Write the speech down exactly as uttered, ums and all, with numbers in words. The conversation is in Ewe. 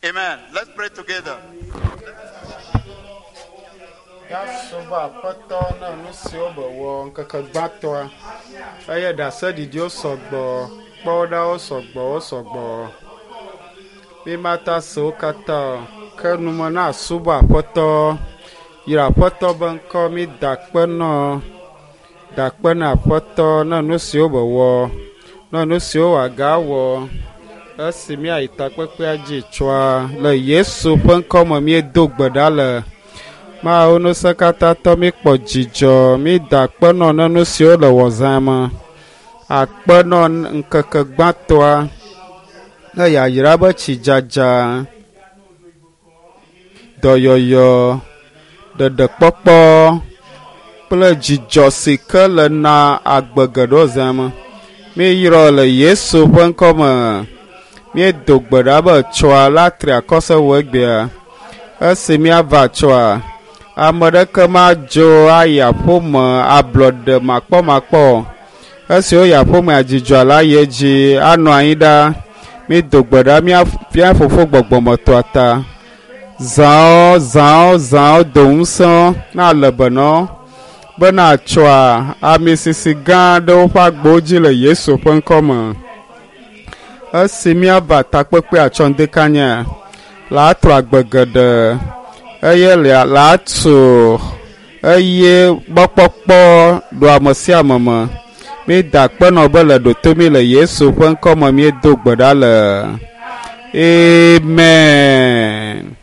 Amen. Let's pray together. Míasubɔ Aƒetɔ na nu siwo mewɔ ŋkeke gbãtɔa eye ɖaseɖiɖiwo sɔgbɔ, kpɔɖawo sɔgbɔ, wo sɔgbɔ. Mímata se wo katã o, ke nume na asubɔ Aƒetɔ. Yra Aƒetɔ be ŋkɔ mída akpe nɔ, da akpe na Aƒetɔ na nu siwo mewɔ, na nu siwo wòagawɔ esi míayi takpekpea dzi tsoa le Yesu ƒe ŋkɔme míedo gbe ɖa le. Mawu ŋusẽkatãtɔ míkpɔ dzidzɔ, mída akpe nɔ ne nu siwo le wɔzã me. Akpe nɔ ŋkeke gbãtɔa ne yayra be tsidzadza, dɔyɔyɔ, ɖeɖekpɔkpɔ kple dzidzɔ si ke le na agbe geɖewo zã me. Míeyrɔ le Yesu ƒe ŋkɔme. Míedo gbe ɖa be tsoa la tri akɔ se wɔ egbea. Esi míava tsoa, ame ɖeke madzo ayi aƒeme ablɔɖe makpɔmakpɔ o. Esi woyi aƒemea dzidzɔa la yi edzi anɔ anyi ɖa. Míedo gbe ɖa mía mía fofo gbɔgbɔmetɔa ta. Zãwo zãwo zãwo do ŋusẽ na le be nɔ bena tsɔa ami sisi gã ɖe woƒe agbowo dzi le Yesu ƒe ŋkɔme. Esi míava takpekpea tsɔ ŋdekanya la atrɔ agbe geɖe eye lia la atu eye mɔkpɔkpɔ ɖo ame sia ame me. Míeda akpe nɔ be le ɖoto mí le Yesu ƒe ŋkɔme míedo gbe ɖa le. Amen.